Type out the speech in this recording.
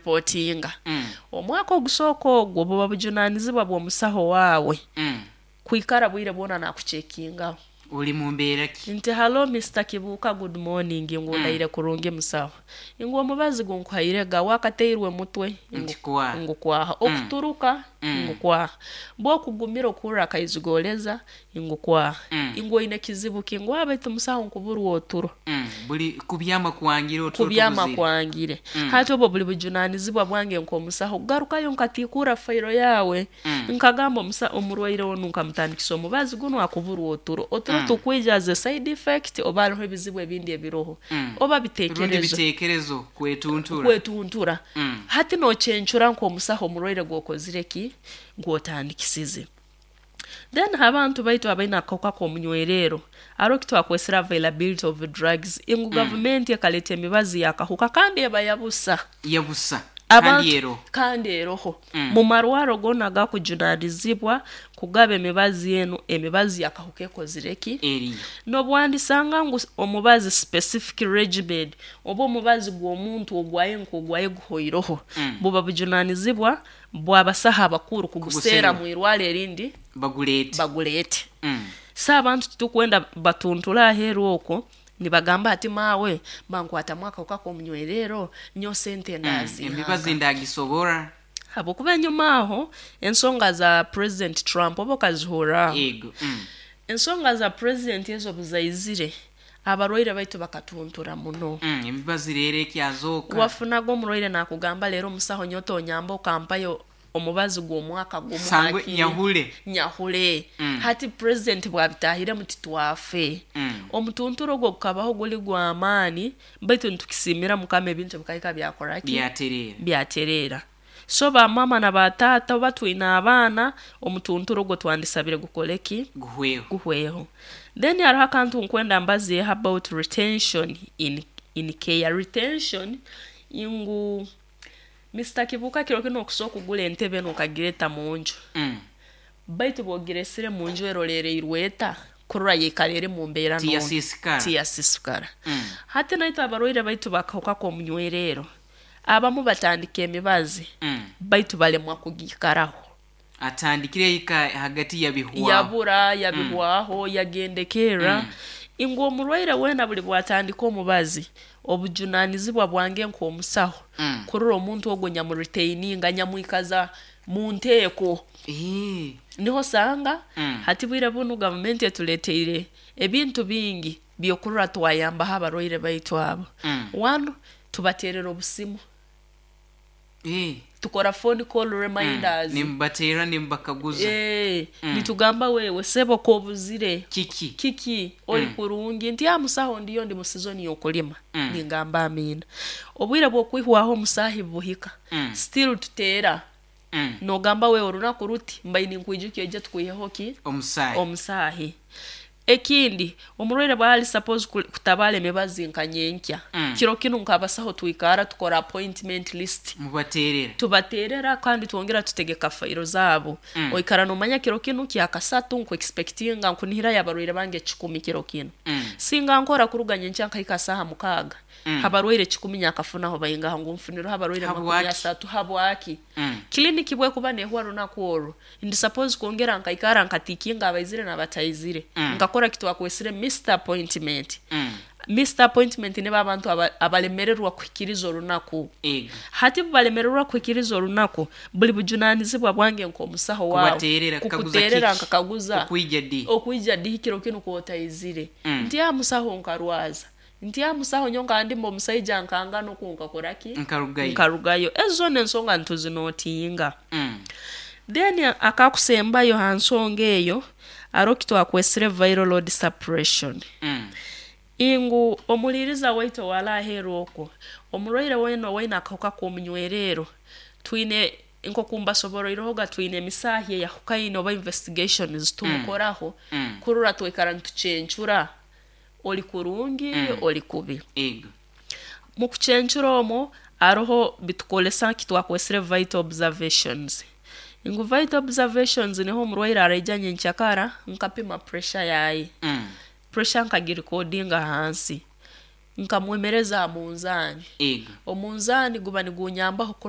Kureportinga omwaka ogusooka, ogwo buba bujunaanizibwa bw'omusaho waawe kwikara bwire bwona naakucheckingaho. Oli mu mbeera ki? Nti, "Hello, Mr Kibuuka, good morning." Ngu, "Ndaire kurungi, musaho." Ngu, "Omubazi gunkuhaire ga wakateirwe mutwe?" Nti kwaha. Ngu kwaha. Okuturuka? Ngu kwaha. Bwokugumira okuhurra akaizigoleza? Ngu kwaha. Ngu, "Oine kizibu ki?" Ngu, "Baitu musaho, nkuburwa oturo." Buli kubyama kwangire, oturo Kubyama tubuzire. kwangire. Hati obwo buli bujunaanizibwa bwange nk'omusaho kugarukayo nkatiikuura fayiro yaawe, nkagamba, "Omurwaire onu nkamutandikisa omubazi gunu, akuburwa oturo. Oturo tukwija as a side effect oba hariho ebizibu ebindi ebiroho?" Oba Rundi biteekerezo. Biteekerezo kwetuntura. Kwetuntura. Hati nocencura nk'omusaho omurwaire gwokozire ki, gwotandikisize. Then abantu baitu abaine akahuka k'omunywerero, hariho kitwakwesere availability of drugs, ngu gavumenti ekaleeta emibazi y'akahuka kandi eba yabusa. Yabusa kandi Abantu eroho. Kandi eroho. Mu marwaro goona agakujunaanizibwa kugaba emibazi enu, emibazi y'akahuka ekozire ki? Eriyo. N'obwandisanga ngu omubazi specific regimen oba omubazi gw'omuntu ogwaye nk'ogwaye guhoiroho, buba bujunaanizibwa bw'abasaho abakuru kuguseera Kuguserra. Mu irwaro erindi Baguleete. Baguleete. So abantu titukwenda batunture aheeru okwo nibagamba ati, "Maawe, bankwatamu akahuka k'omunywerero, nyowe sente Emibazi ndaziihanga." Ndagisobora. Habwokuba enyuma aho ensonga za President Trump oba okazihurraho? Ego. Ensonga za president ezo buzaizire, abarwaire baitu bakatuntura muno. Emibazi rero ekyazooka. Wafunaga omurwaire naakugamba, "Leero omusaho, nyowe tonyamba okampayo omubazi gw'omwaka gumu Sangwe hakiri nyahule. Nyahule." Hati president bwabitahiremu, titwafe. Omutunturo ogwo gukabaho guli gw'amaani, baitu nitukisiimira Mukama, ebintu bikahika byakora ki? Byatereera. Byatereera. So bamama na bataata, oba twine abaana, omutunturo ogwo twandisabire gukole ki? Guhweho. Guhweho. Then hariho akantu nkwenda mbazeeho about retention in care. Retention, ngu Mr Kibuuka, kiro kinu okusobola okugura entebe n'okagireta mu nju, baitu bw'ogiresire mu nju, erolereirwe eta kurora yaikara eri mu mbeera nungi? Tiyasiisikara. Tiyasiisikara. Hati naitwe abarwaire baitu bakahuka k'omunywerero, abamu batandika emibazi, baitu balemwa kugiikaraho. Atandikire ika hagati yabihwaho. Yabura, yabihwaho, yagendekerra. Ngu omurwaire weena buli bwatandika omubazi, obujunaanizibwa bwange nk'omusaho kurora omuntu ogwo nyamuretaininga, nyamwikaza mu nteeko. Niho osanga hati bwire bunu gavumenti etuleeteire ebintu bingi by'okurora twayambaho abarwaire baitu abo. One, tubateerera obusimu. Tukora phone call reminders. Nimubateerra nimubakaguza. Nitugamba, "Wewe sebo, kobuzire?" Kiki? "Kiki, oli kurungi?" Nti, "Ah, musaho, ndiyo, ndi mu season y'okulima." Ningamba amiina. Obwire bw'okwihwaho omusaahi buhika, still tuteera. Nogamba, "Wewe, orunaku ruti mbai ninkwijukia, oije tukwiheho ki?" Omusaahi. Omusaahi. Ekindi, omurwaire bwali suppose kutabaara emibazi nka nyenkya, kiro kinu nk'abasaho twikara tukora appointment list. Mubateerera. Tubateerera kandi twongera tutegeka fayiro zaabo. Oikara nomanya kiro kinu kyakasatu nkuexpectinga, nkunihirayo abarwaire bange 100 kiro kinu. Singa nkora kuruga nyenkya nkahika saaha 6, abarwaire 100 nyakafunaho baingaha? Ngu nfunireho abarwaire makumi Habwaki? asatu, habwaki? Kiliniki bwekuba nehwa runaku orwo, ndi suppose kwongera nkaikara nkatikinga abaizire n'abataizire, nkakora kitwakwesire missed appointment. Missed appointment nibo abantu abalemererwa kuhikiriza orunaku. Hati bubalemererwa kuhikiriza orunaku, buli bujunaanizibwa bwange nk'omusaho waawe Kubateerera, kukaguza. Kukuteerera. Kiki? Nkakaguza. Okwija di? Okwija dihi kiro kinu kwotaizire? Nti, "Ah, musaho, nkarwaza." Nti, "Ah, musaho, nyo nkandimba omusaija nkangana oku, nkakora ki?" Nkarugayo. Nkarugayo. Ezo zona ensonga ntuzinotinga. Then akakusembayo ha nsonga eyo, hariho kitwakwesire viral load suppression. Ingu omuliiriza waitu owali aheeru okwo, omurwaire weena owaine akahuka k'omunywerero, twine nk'oku mbasoboroirehoga, twine emisaahi eyahukaine oba investigations tumukoraho kurora twikara nitucencura oli kurungi, oli kubi. Mu kucencura omwo hariho bitukolesa kitwakwesire vital observations. Ngu vital observations niho omurwaire araija nyenkyakara, nkapima pressure yaye, pressure nkagirecordinga ahansi, nkamwemereza aha munzaani. Omunzaani guba nigunyambaho kurora.